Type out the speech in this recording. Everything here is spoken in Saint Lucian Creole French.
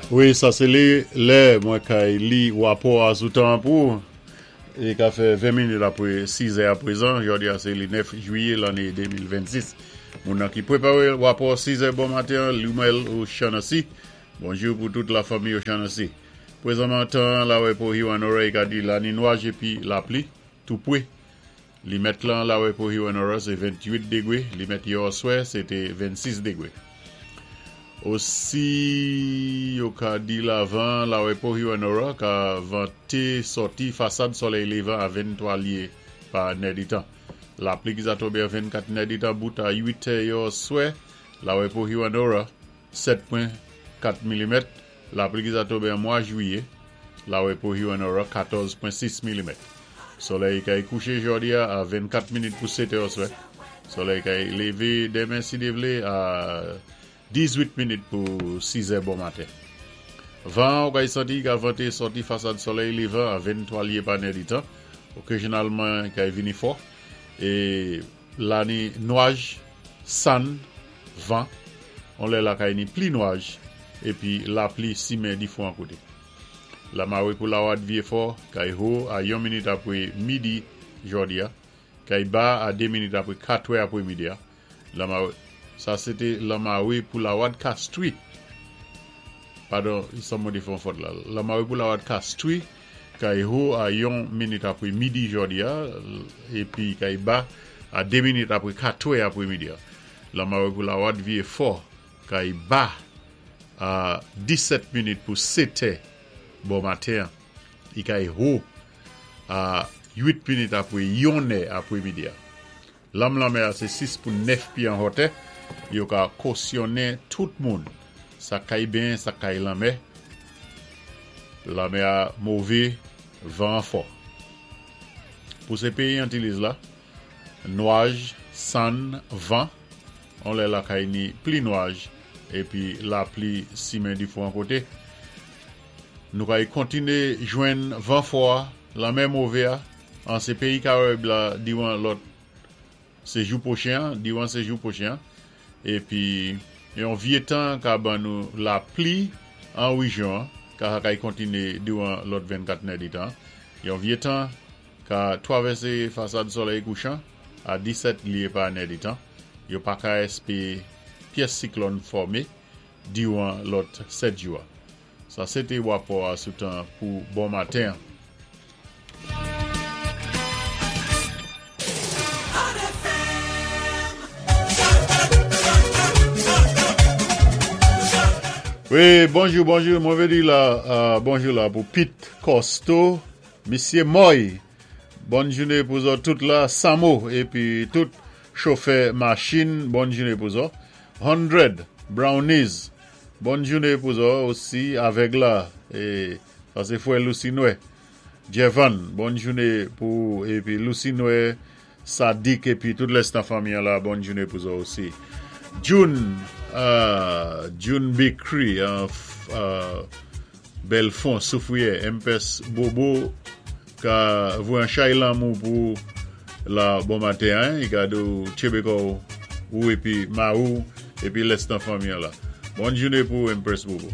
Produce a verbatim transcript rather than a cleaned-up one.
Wi, sa sé lé, lè mwen kay li wapò a sou tan pou é ka fè ven minit apwé sis è apwézan, jòdi a sé lé nèf jwiyé lanné de mil vennsis. Moun nan ki pwéparé wapò sis è bon maten, Lumel O'Shaughnessy. Bonjou pou tout la fanmi O'Shaughnessy. Pwézanman tan lawè pou Hewanorra ka di la ni nwaj épi lapli, tou pwé. Limèt lan lawè pou Hewanorra sé venntwit dégwé, limèt yè oswè sé té vennsis dégwé. Osi, yo ka di la van lawè pou Hewanorra ka vanté sòti fasad solèy lévan a venntwa lyé pa nèditan. Lapli ki za tonbé a vennkat nèditan bout a uit è yè oswè, lawè pou Hewanorra sèt pwen kat milimèt. Lapli ki za tonbé an mwa jwiyé, lawè pou Hewanorra katòz pwen sis milimèt. Solèy kay kouché jòdi a vennkat minit pou sèt è oswè. Solèy kay lévé denmen si Dye vlé a dizuit minit pou sis è bon maten. Van ou kay santi ka vanté sòti fasad solèy lévan a venntwa lyé pa nèditan. Okazyonalman kay vini fò. É la ni nwaj, sann, van. On lè la kay ni pli nwaj épi lapli simen difwan koté. Lamawé pou Lawad vyé fò kay wo a yon minit apwé midi jòdi a. Kay ba a dé minit apwé kat è apwé midi a. Lamawé, sa sé té lamawé pou Lawad Castries. Padon, sa mwen di fè fòt la. Lamawé pou Lawad Castries kay wo a yon minit apwé midi jòdi a épi kay ba a dé minit apwé kat è apwé midi a. Lamawé pou Lawad vyé fò kay ba a disèt minit pou sèt è bon maten. I kay wo a uit minit apwé yon è apwé midi a. Lam lanmè a sé sis pou nèf pyé an wotè. Yo ka kosyonnen tout moun. Sa kay benyen, sa kay lanmè. Lanmè a mové, van fò. Pou sé péyi Antiliz la, nwaj, sann, van, on lè la kay ni pli nwaj, épi lapli simen difwan koté. Nou kay kontiné jwenn van fò, lanmè mové a, an sé péyi Karayib la diwan lòt sé jou pwochen, diwan sé jou pwochen, épi yon vyé tan ka ban nou lapli an wéjyon, ka kay kontiné diwan lòt vennkat nèditan. Yon vyé tan ka twavèsé fasad solèy kouchan a disèt lyé pa nèditan. Yo pa ka èspé pyès siklòn fòmé diwan lòt sèt jou. Sa sé té wapò a sou tan pou bon maten. Hot F M. Wi, bonjou, bonjou. Mwen vlé di la, euh, bonjou la pou Pete Costo, Misyé Moy. Bòn jouné pou zòt tout la, Samo épi tout chofè machin, bòn jouné pou zòt. Hundred Brownies, bòn jouné pou zòt osi avèk la é sa sé fwè Lucy Noé. Jevan, bòn jouné pou épi Lucy Noé, Sadik épi tout lès nan fanmi la, bòn jouné pou zòt osi. June, euh, June Bakery, euh, euh, Belfond, Soufrière, Empress Bobo, ka voyé an chay lanmou pou la bon maten, hein, i ka di tchébé kò ou épi mari ou épi lès nan fanmi la. Bòn jouné pou Empress Bobo.